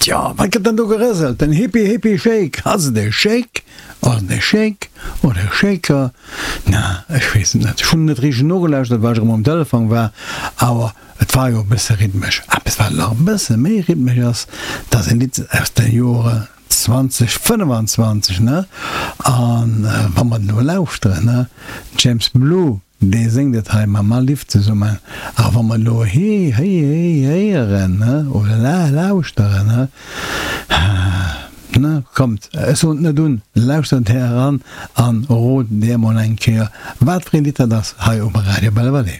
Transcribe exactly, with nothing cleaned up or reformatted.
Tjo, wat gëtt dann do gerëselt? Den Hippie Hippie Shake? Ass et e Shake? Ass et e Shake oder e Shaker? Na, ech weess et net. Ech hunn net richteg nogelauschtert, well ech erëm um Telefon war, awer et war jo e bësse rhythmesch. Eppes, wat nach e bësse méi rhythmesch ass, dat ass e Lidd aus de Jore zwanzeg fënnefenzwanzeg, ne? A wa mer et elo lauschteren, ne, James Blue, Dee séngt et hei mam Alif zesummen. A wa mer elo hee, héi, héi, héieren, ne, oder la, lauschteren, ne, ne, kommt, ech soen et net un, lauschtert här eran an rot dir emol eng Kéier, wat fir ee Lidd dat ass hei um Radio Belval.